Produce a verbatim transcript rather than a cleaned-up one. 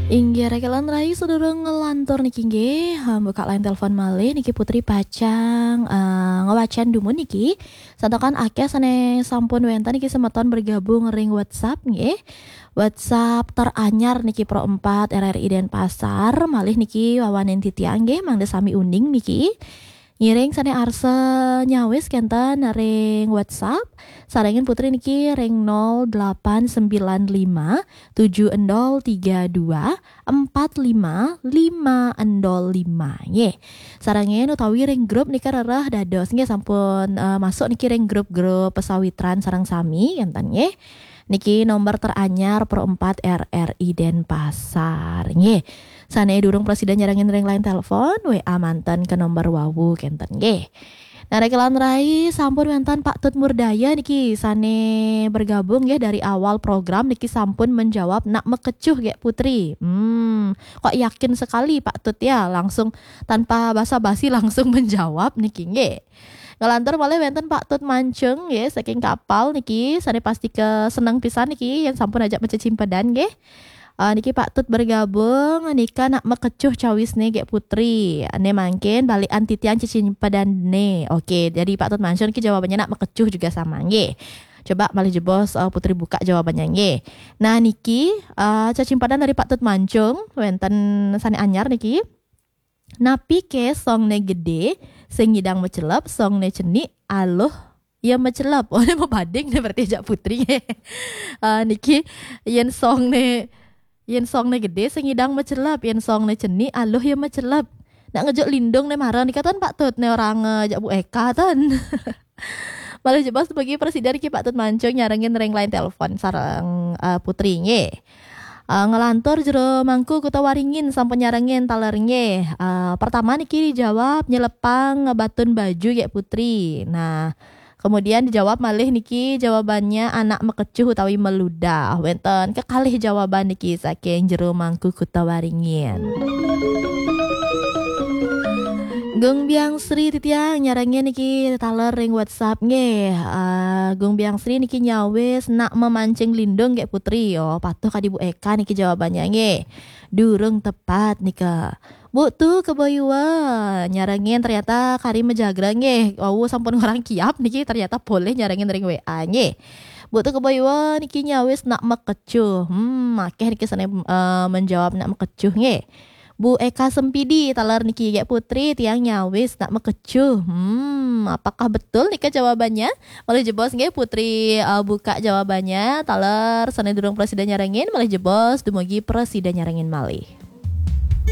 Inggih, rek lan rayi, sedurung ngelantur niki nggih, ha, buka line telepon malih niki Putri pacang, eh, ngewacan dumun niki. Santakan akeh sane sampun wenten niki semeton bergabung ring WhatsApp nggih. WhatsApp teranyar niki Pro empat R R I Denpasar, malih niki wawanen titiang nggih, mangda sami uning niki. Ngiring sane arsa nyawis kenten ring WhatsApp, sarengin Putri niki ring nol delapan sembilan lima tujuh endol tiga dua empat lima lima endol lima nggih. Sarengin utawi ring grup nika rereh dados nggih, sampun, eh, masuk niki ring grup-grup pesawitran sareng sami kenten nggih. Niki nomor teranyar Pro empat R R I Denpasar nggih. Sane durung prasida nyarengin ring line telepon, W A manten ke nomor wawu kenten nggih. Nah, rek lan rayi, sampun wenten Pak Tut Murdaya niki sane bergabung nggih dari awal program niki, sampun menjawab nak makecuh nggih Putri. Hmm, kok yakin sekali Pak Tut ya, langsung tanpa basa-basi langsung menjawab niki nggih. Ngelantur malih wenten Pak Tut Mancung nggih saking Kapal niki, sane pasti ke seneng pisan niki yen sampun ajak macecimpedan nggih. Ah, niki Pak Tut bergabung, nika nak makecuh cawisne nggih Putri. Ane mangkin balikan titiang cecimpedane. Oke, jadi Pak Tut Mancung niki jawabannya nak makecuh juga sama nggih. Coba malih jebos, eh, Putri buka jawabannya nggih. Nah, niki, eh, cecimpadan dari Pak Tut Mancung, wenten sane anyar niki. Napi ke songne gede, sing ngidang macelep, songne cenik, aluh ya macelep. Oh, ini mabading ne berarti ajak Putri. Ah, niki, yen songne, yen songne gede, sing ngidang macelep, yen songne cenik, aluh ya macelep. Nak ngejuk lindung ne mara nika ten Pak Tut, ne orang, eh, ajak Bu Eka ten. Malih jebos bagi presiden ki Pak Tut Mancung nyarengin ring line telepon sareng, eh, Putri nggih. Eh, ngelantur Jero Mangku Kuta Waringin sampun nyarengin taler nggih. Eh, pertama niki dijawab nyelepang batun baju nggih Putri. Nah, kemudian dijawab malih niki jawabannya anak makecuh utawi maludah. Wenten kekalih jawaban niki saking Jero Mangku Kuta Waringin. Gung Biang Sri titiang nyarengin niki taler ring WhatsApp nggih. Ah, Gung Biang Sri niki nyawis nak memancing lindung nggih Putri. Oh, patuh kadi Bu Eka niki jawabannya nggih. Durung tepat nika. Bu Tu Keboyua nyarengin ternyata kari majagra nggih. Wau sampun ngorang kiap niki ternyata polih nyarengin ring W A nggih. Bu Tu Keboyua niki nyawis nak makecuh. Hmm, akeh niki sane, eh, menjawab nak makecuh nggih. Bu Eka Sempidi taler niki, "Gek Putri, tiang nyawis nak makecuh." Hmm, apakah betul nika jawabannya? Malih jebos nggih Putri, eh, buka jawabannya. Taler sane durung prasida nyarengin, malih jebos dumugi prasida nyarengin malih.